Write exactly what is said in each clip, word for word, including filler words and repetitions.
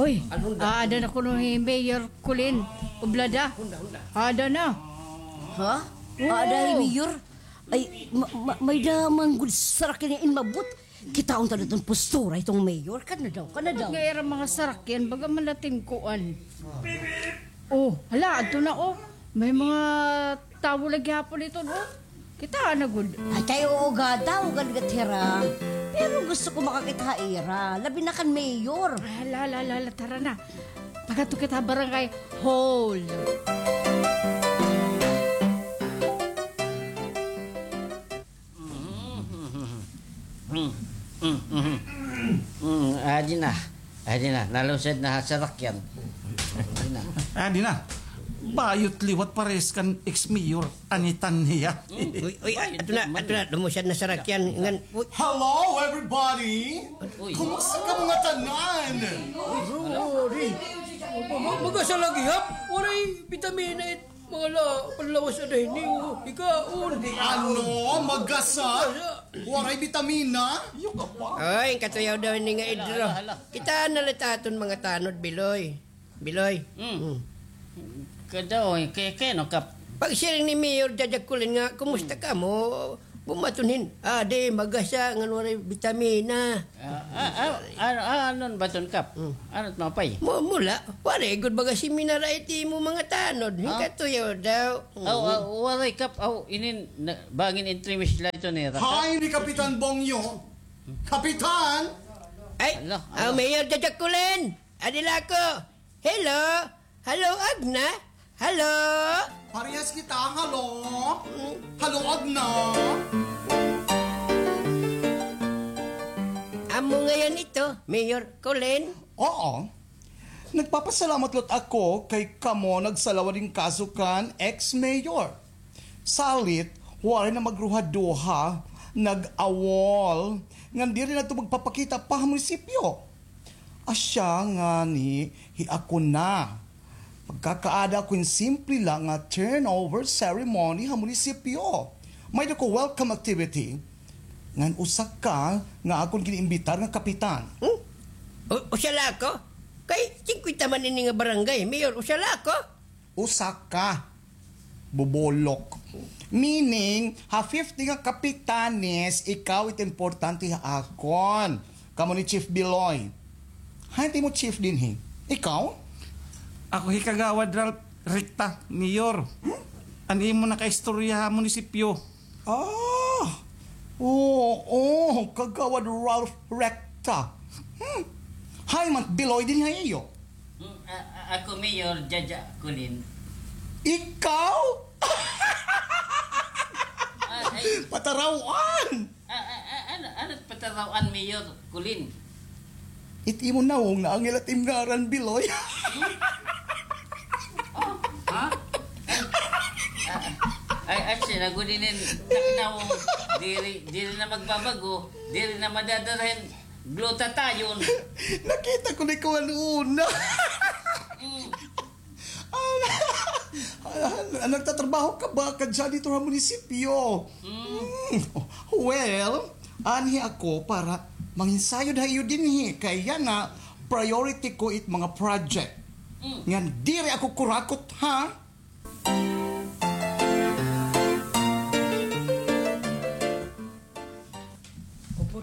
Uy, aada na kuno hi Mayor Colin Oblada. Aada na. Ha? Oo. Aada hi Mayor? Ay, ma-, ma-, may-ada man gud sarakyan nga inmabot. Kitaon ta daw iton postura hiton mayor. Kana daw, kana daw. Nga ira mga sarakyan, baga man natin kuan. Oh, hala, adto na, oh. May mga tawo lagi gihapon iton, oh. Kitaa na gud. Ay, kay oo gad, tawo gad gad hira. Pero gusto ko makakita ha ira, labi na kan mayor. Hala, hala, hala, tara na. Pag-adto kita ha barangay hall. Mm, mm, mm. Mm, adi na. Adi na, nalusad na ha sarakyan. Adi na. Adi na. Bayot liwat parehas kan ex-mayor, an itan hiya. Mm. Uy, uy, adto na, adto na, lumusad na sarakyan. Ngan, uy. Hello, everybody! Uy. Kumusta ka mga tanan? Uy, uy. Ma-, magasa lagi, hap. Waray bitamina it Mga la-, panlawas ada hini, oh, ikaon. Ano? Magasa? Magasa. Waray bitamina? Oy, katuyaw daw ini nga Idro. Hala, hala, hala. Kita na la it aton mga tanod, Biloy. Biloy. Mm. Mm. Kadaw, kay, kay, no, Kap? Pagsiring ni Mayor Jajakulin nga, kumusta kamo? Bumaton hin, adi, magasa, ngan waray bitamina. Ah, ah, ah, ano, ah, ano ba ton, Kap? Hmm. Ano it mapay? Mu-, mula, waray gud baga seminar ay it imo mga tanod. Ah? Hingkatuyaw daw. Aw, ah, waray, Kap. Aw, inin, na, bangin entrevista la ito ni Raka. Hi, ni Kapitan Bongyo. Kapitan! Ay, hala, ah, hala. Mayor Jajakulin! Adi la ako! Hello? Hello, Agna? Hello? Parehas kita, hello? Mm. Hello, Agna? Amo ngayon ito, Mayor Colin? Oo. Nagpapasalamat lat ako kay kamo nagsalawan hin kaso kan ex-mayor. Salit, waray na magruhaduha, nag-awol, ngan diri na ito magpapakita pa ha munisipyo. Asya ngani hi ako na. Magkakaada ako hin simple la nga turnover ceremony ha munisipyo. May-ada ko welcome activity. Ngan usa ka nga akon gin-imbitar nga kapitan. Hmm? U-, usa la ako? Kay singkwenta man ini nga barangay, Mayor, usa la ako? Usa ka. Bobolok. Meaning, ha fifty nga kapitanes, ikaw it importante ha akon. Kamo ni Chief Biloy. Hain it imo chief dinhi? Ikaw? Ako hi Kagawad Ralph Recta, Mayor. Hmm? An imo nakaistorya ha munisipyo. Ah, oo, Kagawad Ralph Recta. Hmm. Hain man it Biloy dinhi ha iyo? Hmm, a-, a-, ako, Mayor Jaja Colin. Ikaw? Ah, ay. Pataraw-an! A-, a-, a-, ano, ano it pataraw-an, Mayor Colin? It imo nawong naangil it im ngaran, Biloy. Hmm? Oh, ha? Ay, ay, ay, siya na gud inin nawong. Diri, diri na magbabago. Diri na madadara hin glutathione. Nakita ko na ikaw an una. Mm. Ah, ah, nagtatrabaho ka ba ka janitor ha munisipyo? Mm. Mm. Well, anhi ako para manginsayod ha iyo dinhi. Kay yana, priority ko it mga project. Mm. Ngan diri ako kurakot, ha?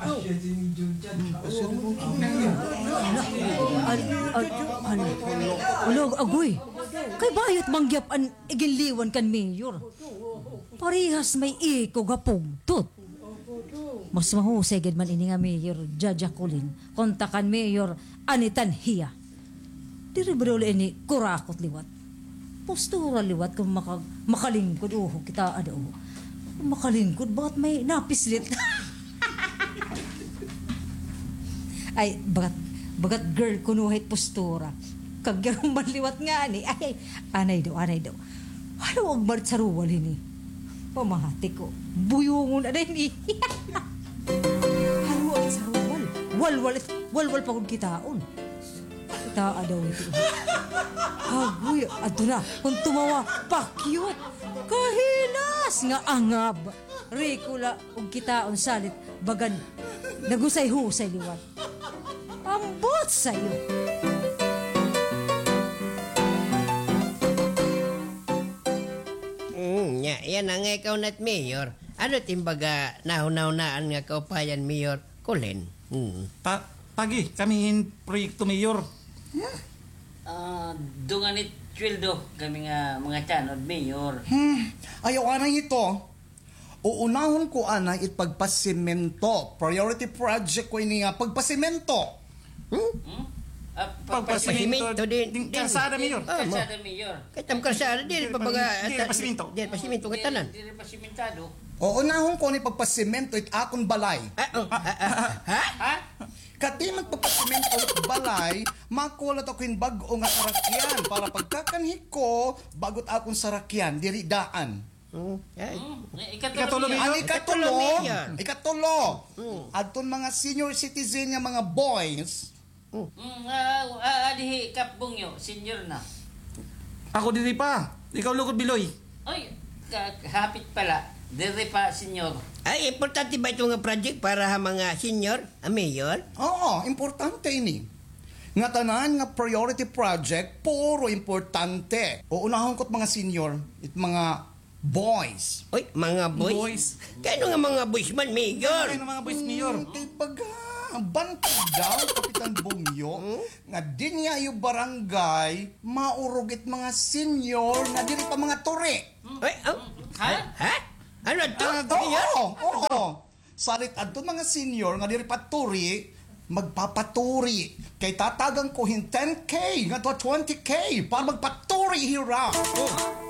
Ala, ala, ala, ala, agoy. Kay bayot man gihap an iginliwan kan mayor. Parehas may ikog ha pugtot. Mas mahusay gad man ini nga Mayor Jajakulin kontra kan Mayor Anitan hiya. Diri ba daw la ini kurakot liwat? Postura liwat kon maka-, makalingkod, oho, kitaa daw. Makalingkod, bagat may napislit. Ay, bagat, bagat girl kuno hit postura. Kag yaruman liwat ngani. Ay, anay daw, anay daw. Halo, agbarit sa ruwal hini. Pamahati ko. Buyungon na din, eh. Halo, ay sa ruwal. Walwal, walwal pa gud kitaon. Kitaa daw ito. Agoy, adto na. Kon tumawa, pakyut. Kahilas nga angab. Rikula, ug kitaon salit, bagan. Nagusay-husay liwat. Ambot sayo. Yana nga ikaw na it mayor. Ano it im baga nahunahunaan nga kaupayan, Mayor Colin? Hmm. Pa-, pagi, kami hin proyekto, Mayor. Ah, dungan it sweldo, kami nga mga tanod, Mayor. Hmm, ayaw anay ito. Uunahon ko anay it pagpasimento. Priority project ko ini nga pagpasimento. Hmm? Hmm? Ah, pagpasimento. Pagpasimento din, din. Kalsada, Mayor. Ah, kalsada, Mayor. Kay it am kalsada, diri pa baga, diri pa simento. Diri pa simento ngatanan. Diri pa simentado. Uunahon ko ni pagpasimento it akon balay. Ah, oh, ah, ah, ha? Ha? Kadi man pagpasimento it balay, makuha la ako hin bag-o nga sarakyan para pagkakanhi ko, bag-o it akon sarakyan, diri daan. Hmm, ay. Hmm, ikatulo, Mayor. An ikatulo, Mayor. Ikatulo. Hmm. Adton mga senior citizen nga mga boys. Hmm. Hmm, ah, ah, adihi, Kap Bungyo, senior na. Ako diri pa. Ikaw, Lugod Biloy. Oy, ka-, hapit pala. Diri pa, senior. Ay, importante ba ito nga project para ha mga senior, ah, Mayor? Oo, importante ini. Ngatanan nga priority project, puro importante. Uunahon ko it mga senior, it mga boys. Oy, mga boys? Boys. Kay ano nga mga boys man, Mayor? Kay ano nga mga boys, Mayor? Hmm, kay baga, bantog daw, Kapitan Bungyo, hmm? Nga dinhi ha iyo barangay, maurog it mga senior nga diri pa mga turi. Ay, ah, ha? Ha? Ano to? Ah, oo, oo. Salit adto mga senior nga diri pa turi, magpapaturi. Kay tatagan ko hin ten K ngadto twenty K para magpaturi hira. Oh.